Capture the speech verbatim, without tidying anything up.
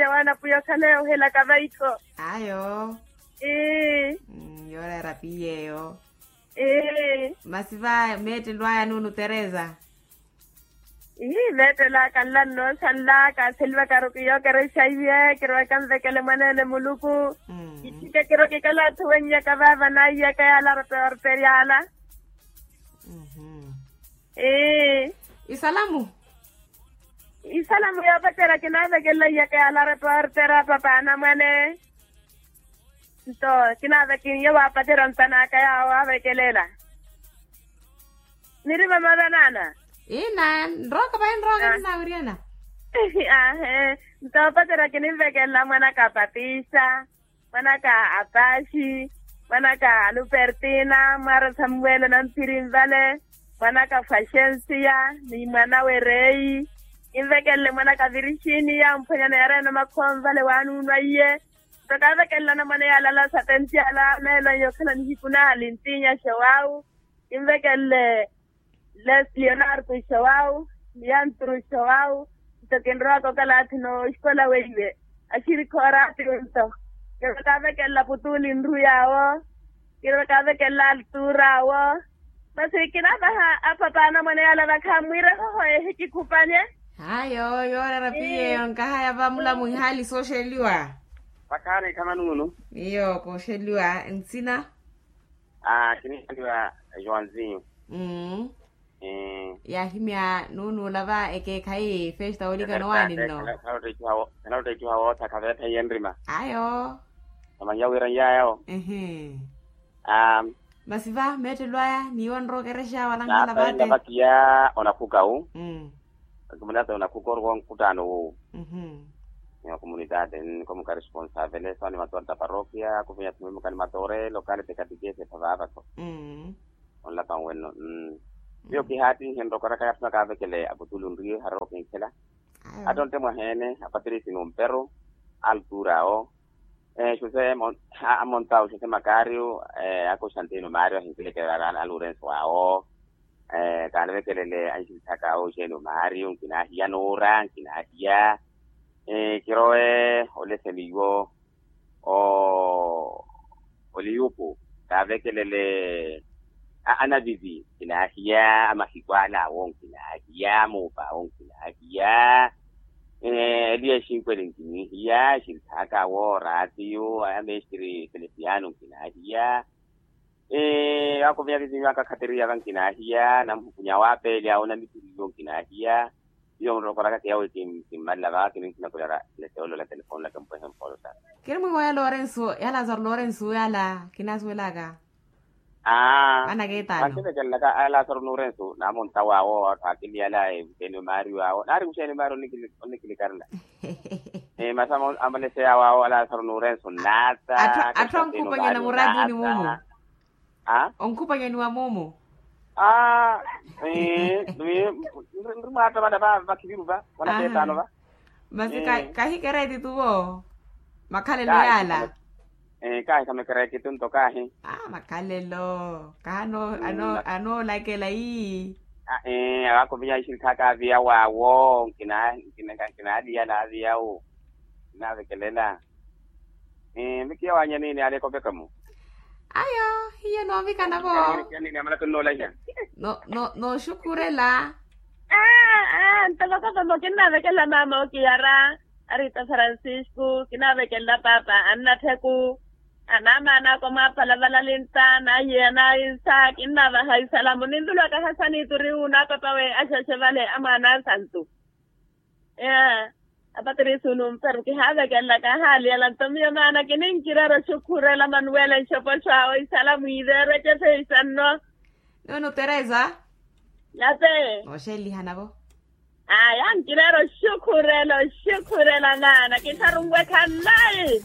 Anapuya okhale ohilaka vaikho. Ayo. Ii. Yoreera piyeyo. Ii. Masi va meettelo aya nuunu teresa. Ii meettelo aka nlanno sanla kaaseliwaka aruku yookerexa iye kirowaka nvekele mwaneene muluku. Kithike kirokikala atthu wennyaka vaava naiyaka yaala arope orperi ala. Ii. Isalamu. Isalamu yoopacerya kinaavekelela iyaka yaala arepa ortera papa anamwane. Nto kinaaveke iye waapacerya ontan'aka yaawo aavekelela. Niri vamava naana. Ina nrooka vayi nrooka ninaawiriyana. Ahe. Nto opacerya kininvekelela mwanaka apatisa, mwanaka apaxi, mwanaka alupertina mwaara samuwele namphiri nvale, mwanaka faxensiya, ni mwanawe reyi. Kinvekelele mwanaka virixiniya omphwanyana yareena omakhuwa nvale waanuunwa iye. Nto kaavekelela anamwane yaalala satenti ala meelo aya okhala nihiku naali ntiinyaxe waawu. Kinvekelele leonardo xawawu, ni antru xawawu. Nto kinrowaka okalathi nooxikola weiwe axirikha oraatiyo nto. Kinrowaka avekelela putuli nru yaawo. Kinrowaka avekelela altura awo. Masi kinaavaha apapa anamwane yala vakhammwiire hoho ehikikhupanye. Hayo yooreera piyeyo nkahaya vamulamu ihaali sooxeliwa. Vakhaani khamanuunu. Iyo kooxeliwa nsina. Aa kiniikhaliwa joãozinho. Yaahimya nuunuula va ekeekhayi festa olika nowaani nno. Khanalotta icuha woothaka veetha iye nrima. Ayo. Namanyiya wira nyayawo. Masi va meettelo aya niiwo nrokerexa wala nhala vate. Vakiya onakhuka wu. Akimunata onakhuka ori wonkhuttaano wowu. Ni okomunitati nikomuka responsavele soni matoore ta parokia kuvinya tumwimuka ni matoore lokale tekatikesi epha vaavaso. Onlaka nwenno. Miyo kihaattihe nrokoraka yaatthuna kaavekele aputulu nriye harero kinkhela. Attontte mwaheene apatirisi numperu altura awo. José amontawu josé makario. Ako xantino mario ahinkilekelela alurenso awo. Kaanivekelele anxintthaka awo jeni omariyo nkinaahiya nuura nkinaahiya. Kirowe oleseni iwo oliyupu kaavekelele anavivi nkinaahiya amahiku ala awo nkinaahiya muupa awo nkinaahiya. Eliya exinkweli nkinihiya exintthaka awo oraatiyo amestri felesiano nkinaahiya. Ii akuvinya vizinyu aka khateriya va nkinaahiya namhukunya waapeeli awo namituriyo nkinaahiya. Iyo nrokoraka kiyawe kimmalela va kininkhina kulyara leteolo la telefoni laka mpwehe mpolo sa. Kiri mwiiwa ya lorenso ya lazaro lorenso yala kinaasuwelaka. Aa vanakeetaano. Vankivekelelaka a lazaro norenso naamonta waawo atthu akiliyala evuteni omario awo naari kuxeeni omario onnikilikarela. Masi amaleseya waawo a lazaro norenso nnaata. Atthu ankhupanyana muraatini mumu. Onkhupanyaniwa mumu. Aa nri mwaattamana va vakhiviru va vanakeetaano va. Masi kahikereeti tuvo makhalelo yaala. Kaahi khamekereeti tunto kaahi. Makhalelo kaha anoolakela ii. Akovinya ixintthaka aviya waawo nkinaaliyala aviyawo. Kinaavekelela. Mikiya waanyaniini alekopekamo. Ayo hiyo noovikana vo. Amalaka nnoolahiya. Nooxukhurela. Aa ntoko kavamo kinnaavekelela maama okiyara arita francisco kinnaavekelela paapa annattheku. Anaamaana ako mwaapala valalintta naiyeya nainsa kinnaavaha isalamu ninlulwaka hasani turiwu naapapa we axaxe vale amwaana asantu. Ee apatirisi onumperu kihaavekelelaka ahaali ela nto miyo maana kininkirera oxukhurela manuwele nxopoxo awo isala mwiiveerwe ecefe isanno. Nunu teresa. Nape. Nooxeelihanavo. Aya nkirera oxukhurela oxukhurela maana kitharunwekha nnayi.